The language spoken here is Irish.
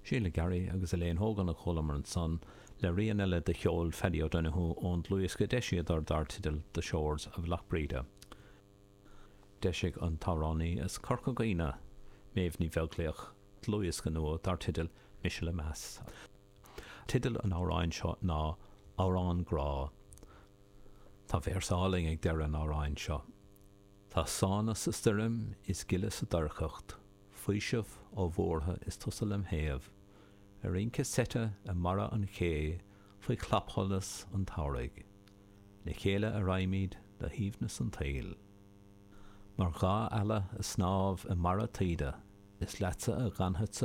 Sheila Garry agus Elaine Hogan a chualamar ansan le rian eile de cheol Phaddy O'Donoghue ón dlúthdhiosca a d'eisíodar dar teideal The Shores of Lough Breda. D'eisigh an t-amhránaí as Corca Dhuibhne, Méabh Ní Bheaglaoich, dlúthdhiosca nua dar teideal Mise le Meas. Teideal an amhráin seo ná Amhrán Grá. Tá véarsa álainn ag deireadh an amhráin seo. Tá sána sa stoirm is gile sa doircheacht, faoiseamh ó bhuartha is tusa lem thaobh, ag rince seite i mbarra an ché faoi chlapsholas an tsamhraidh. Le chéile a raghaimid le haoibhneas an tsaoil. Mar dha eala ag snámh i mbarra taoide, is leatsa a dh'fhanfadsa.